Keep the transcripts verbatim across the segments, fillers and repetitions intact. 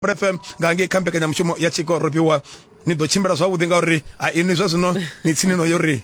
F M nga ngei kha mbekanyamushumo ya Tshiko Rofhiwa. Ni ḓo tshimbila zwavhuḓi ngauri a inwi zwa zwino ni tsini no yo ri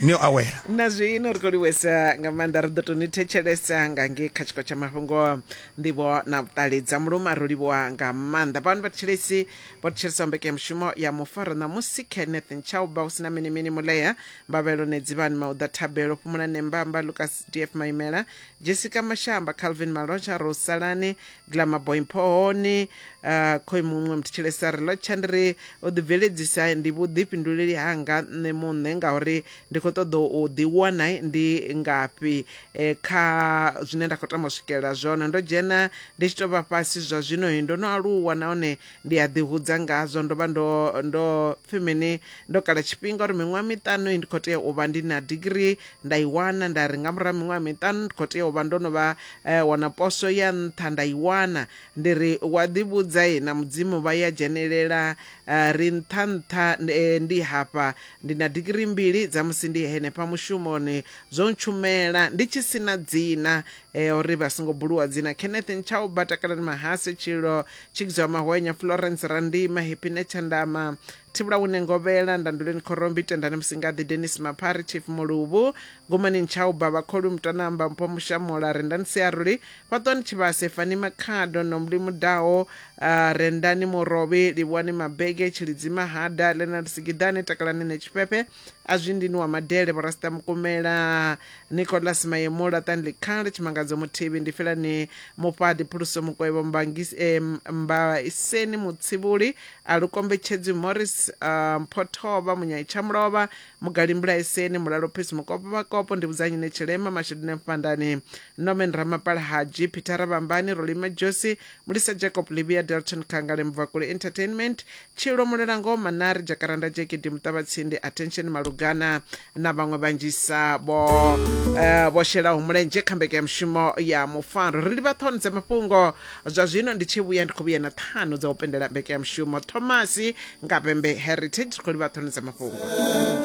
ni yo awela. Na zwino ri khou livhuwesa nga maanḓa, ri ḓo tou ni thetshelesa nga ngei kha tshiko tsha mafhungo, nḓivho na vhuṱali dza muluma. Ro livhuwa nga maanḓa vhano vhathetshelesi vho thetshelesa mbekanyamushumo ya mufaro ṋamusi. Kenneth Nchauba, hu sina mini mini Mulea, Mbavhelo Nedzivhani, Mauḓa Thabelo, Fhumula Nembamba, Lucas D F Maimela, Jessica Mashamba, Calvin Malotsha, Rosalani Glamour Boy Mpohoni, uh, khoi muṅwe muthetshelesa ri lotsha ndi ri u ḓi bveledzisa ndi vhuḓifhinduleli hanga nṋe muṋe ngauri ndi khou ṱoḓa u ḓiwana ndi ngafhi e, kha zwine nda khou tama u swikelela zwone. Ndo dzhena ndi tshi tou vha fhasi zwa zwino ndo no aluwa nahone ndi a ḓihudza ngazwo. Ndo vha ndo ndo pfhi mini, ndo kala tshifhinga uri miṅwaha miṱanu ndi khou tea u vha ndi na degree, nda i wana. Nda ri nga murahu ha miṅwaha miṱanu ndi khou tea u vha ndo no vha eh, wana poso ya nṱha, nda i wana. Ndi ri wa ḓivhudza na Mudzimu vha ya dzhenelela, uh, ri nṱha nṱha ndi hafha ndi na digirii mbili dza musi ndi henefha mushumoni, zwo ntshumela ndi tshi sina dzina e, uri vha songo buluwa dzina. Kenneth Nchauba, Takalani Mahase, Tshilo Tshikidzwa Mahwenya, Florence Randima, Happy Netshandama, Thivhula Wune Ngovhela, Ndanduleni Khorombi, Tendani Musingaḓi, Dennis Maphari, Chief Muluvhu, Gumani Nchauba, Vhakholu Mutanamba, Mpho Mushamola, Rendani Siaruli, Fhaṱwani Tshivhase, Fani Makhado, Nomli Mudao, uh, Rendani Murovhi, Livhuwani Mabege, Tshilidzi Mahada, Leonard Sigidane, Takalani Netshifhefhe, Azwindini wa Madele, Borasta Mukumela, Nicholas Mayemula, Tanli Khale, Tshimangadzo Muthibi, Ndifhelani Mufhadi, Phuluso Mukwevho, Mbangisi eh, Mbaiseni Mutsivhuli, Alukombetshedzi Morris, uh, Mphothova, Munyai Tshamulova, Mugali Mbulaiseni, Mulalo Peace Mukopo Vhakopo, Ndivhudzanyi Netshilema, Mashidine Mfandani, Norman Ramapala Haji, Peter Rabambani, Rolima Josi, Mulisa Jacob Libia, Delton Kangale, Mvakule Entertainment, Tshilo Mulelango, Manari Jakaranda, Jekedi Mutavhatsindi, Attention Malugana na vhaṅwe vhanzhisa vho uh, vho shelaho mulenzhe kha mbekanyamushumo ya mufaro. Ri livha ṱhoni dza mafhungo zwa zwino, ndi tshi vhuya ndi khou vhuya na ṱhanu dza u pendela mbekanyamushumo. Thomasi nga Vhembe Heritage, ri khou livha ṱhoni dza mafhungo.